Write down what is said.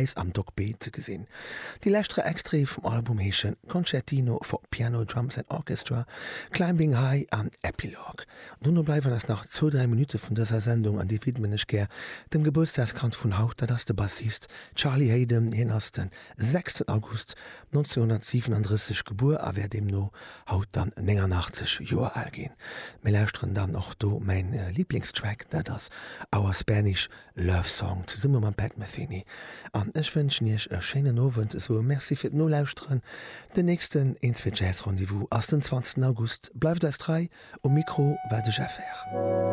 Paräis am Dock B ze gesinn. Déi lescht 3 Extraite vum Album heeschen Concertino for Piano, Drums and Orchestra, Climbing High an Epilogue. Dono bleiwen eis nach zwou, dräi Minutte vun dëser Sendung an déi widmen ech gär dem Gebuertsdagskand vun haut, dat ass de Bassist Charlie Haden. Hien ass de sechsten August 1937 gebuer a wär deemno haut dann 89 Joer al ginn. Mir lauschteren dann och do mäin Liblingstrack, dat ass Our Spanish Love Song zesumme mam Pat Metheny. An ech wënschen iech e schéinen Owend, soe Merci fir d'Nolauschteren. Den nächsten Eenzwee Jazz Rendez-vous ass den 20 August. Bleift eis trei, um Mikro war de Jeff Herr.